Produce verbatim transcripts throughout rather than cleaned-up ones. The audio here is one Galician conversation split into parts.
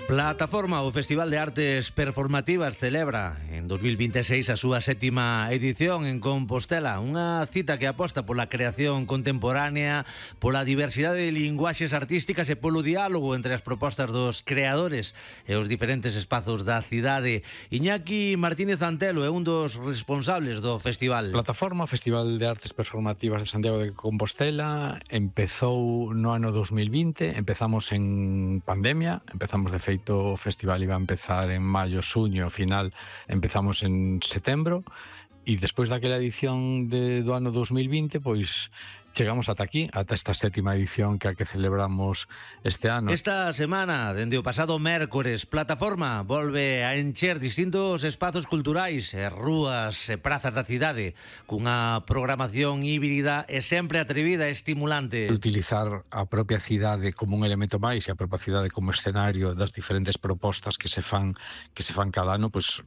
Plataforma, o Festival de Artes Performativas, celebra en dos mil vinte e seis a súa sétima edición en Compostela, unha cita que aposta pola creación contemporánea, pola diversidade de linguaxes artísticas e polo diálogo entre as propostas dos creadores e os diferentes espazos da cidade. Iñaki Martínez Antelo é un dos responsables do festival. Plataforma, o Festival de Artes Performativas de Santiago de Compostela, empezou no ano dos mil vinte, empezamos en pandemia, empezamos de feito o festival iba a empezar en maio, xuño, ao final empezamos en setembro e despois daquela edición de, do ano dos mil vinte, pois chegamos ata aquí, ata esta sétima edición que a que celebramos este ano. Esta semana, dende o pasado mércores, Plataforma volve a encher distintos espazos culturais, e rúas e prazas da cidade, cunha programación híbrida e sempre atrevida e estimulante. Utilizar a propia cidade como un elemento máis e a propia cidade como escenario das diferentes propostas que se fan que se fan cada ano, pois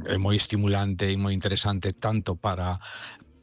é moi estimulante e moi interesante tanto para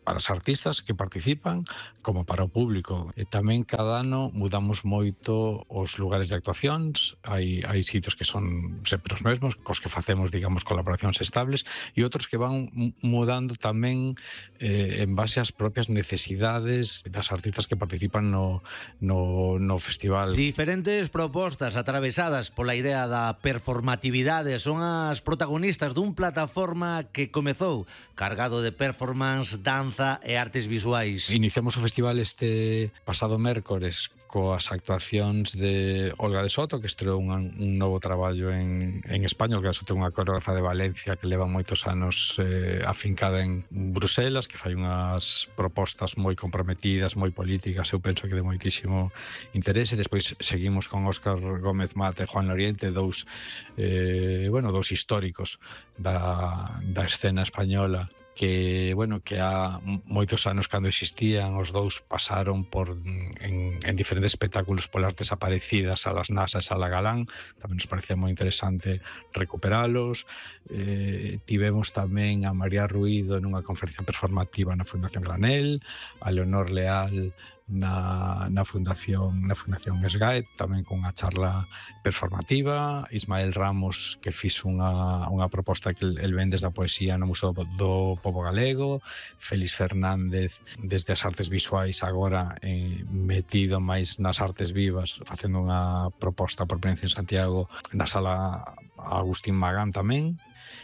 para os artistas que participan como para o público. E tamén cada ano mudamos moito os lugares de actuacións, hai, hai sitios que son sempre os mesmos, cos que facemos, digamos, colaboracións estables, e outros que van mudando tamén eh, en base ás propias necesidades das artistas que participan no, no, no festival. Diferentes propostas atravesadas pola idea da performatividade son as protagonistas dun Plataforma que comezou cargado de performance, danza e artes visuais. Iniciamos o festival este pasado mércores coas actuacións de Olga de Soto, que estreou un, un novo traballo en, en España. Olga de Soto é unha coreógrafa de Valencia que leva moitos anos eh, afincada en Bruselas, que fai unhas propostas moi comprometidas, moi políticas, eu penso que de moitísimo interese. Despois seguimos con Óscar Gómez Mata e Juan Loriente, dous, eh, bueno, dous históricos da, da escena española, que, bueno, que há moitos anos cando existían, os dous pasaron por en, en diferentes espectáculos polas desaparecidas a las Nasas, a la Galán. Tamén nos parecía moi interesante recuperalos. Eh, tivemos tamén a María Ruido nunha conferencia performativa na Fundación Granel, a Leonor Leal na, na Fundación na Fundación Esgaet, tamén con unha charla performativa. Ismael Ramos, que fixo unha, unha proposta que el, el ven desde a poesía no Museo do Pobo Galego. Félix Fernández desde as artes visuais, agora eh, metido máis nas artes vivas, facendo unha proposta por primeira vez en Santiago na sala Agustín Magán tamén.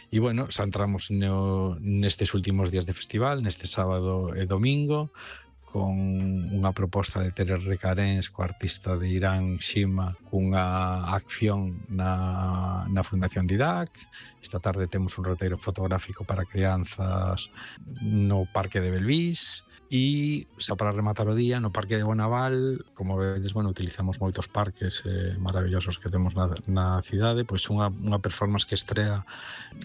E bueno, xa entramos no, nestes últimos días de festival, neste sábado e domingo, con unha proposta de Tere Recarens co artista de Irán, Shima, cunha acción na, na Fundación Didac. Esta tarde temos un roteiro fotográfico para crianzas no Parque de Belvís. E xa para rematar o día, no Parque de Bonaval, como vedes, bueno, utilizamos moitos parques eh, maravillosos que temos na, na cidade, pois unha, unha performance que estrea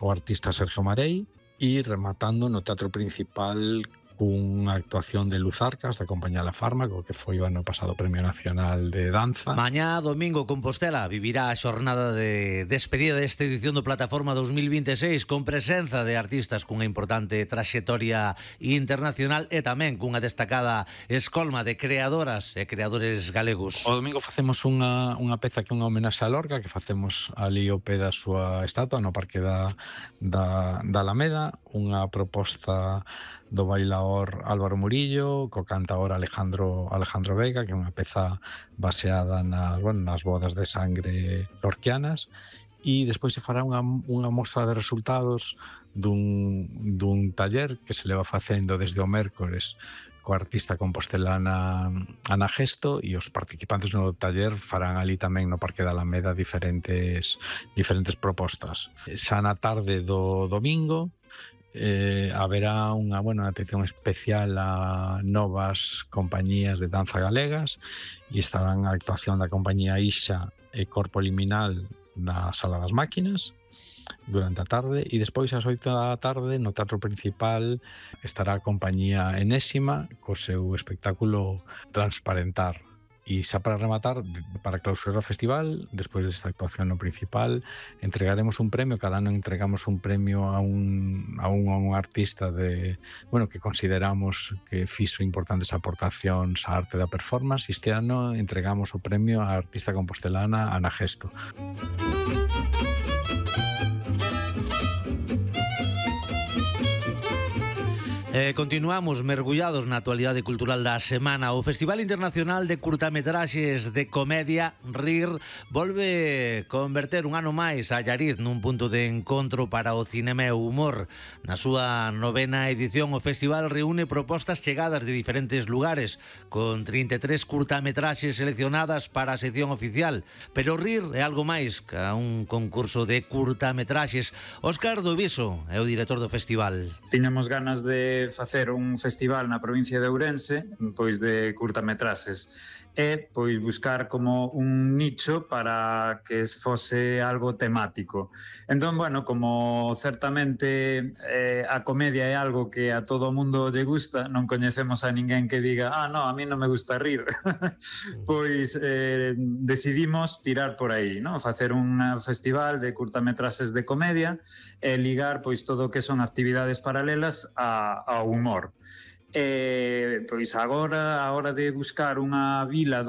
o artista Sergio Marei, e rematando no Teatro Principal cunha actuación de Luz Arcas da compañía La Fármaco, que foi o ano pasado Premio Nacional de Danza. Mañá domingo Compostela vivirá a xornada de despedida desta edición do Plataforma dos mil vinte e seis con presenza de artistas cunha importante traxectoria internacional e tamén cunha destacada escolma de creadoras e creadores galegos. O domingo facemos unha, unha peza que é unha homenaxe a Lorca, que facemos ali ao pé da súa estatua no Parque da, da, da Alameda, unha proposta do bailaor Álvaro Murillo co cantaor Alejandro Alejandro Vega, que é unha peza baseada nas, bueno, nas bodas de sangre lorquianas. E despois se fará unha, unha mostra de resultados dun, dun taller que se leva facendo desde o mércores co artista compostelana Ana Gesto, e os participantes no taller farán ali tamén no Parque da Alameda diferentes diferentes propostas. Xa na tarde do domingo Eh, haberá unha buena atención especial a novas compañías de danza galegas, e estarán a actuación da compañía Ixa e Corpo Liminal na Sala das Máquinas durante a tarde, e despois ás oito da tarde no Teatro Principal estará a compañía Enésima co seu espectáculo Transparentar. E xa para rematar, para clausurar o festival, despois desta actuación no principal, entregaremos un premio, cada ano entregamos un premio a un, a un, a un artista de, bueno, que consideramos que fixo importantes aportacións á arte da performance, e este ano entregamos o premio á artista compostelana Ana Gesto. Eh, continuamos mergullados na actualidade cultural da semana. O Festival Internacional de Curtametraxes de Comedia, RIR, volve converter un ano máis a Allariz nun punto de encontro para o cinema e o humor. Na súa novena edición, o festival reúne propostas chegadas de diferentes lugares, con trinta e tres curtametraxes seleccionadas para a sección oficial. Pero o RIR é algo máis que un concurso de curtametraxes. Óscar Doviso é o director do festival. Tiñamos ganas de facer un festival na provincia de Ourense, pois de curtametraxes, e pois buscar como un nicho para que fose algo temático. Entón, bueno, como certamente eh, a comedia é algo que a todo o mundo lle gusta, non coñecemos a ninguén que diga, ah, no, a mí non me gusta rir. Pois eh, decidimos tirar por aí, ¿no? Facer un festival de curtametraxes de comedia e ligar pois todo o que son actividades paralelas a, ao humor. E, pois agora, a hora de buscar unha vila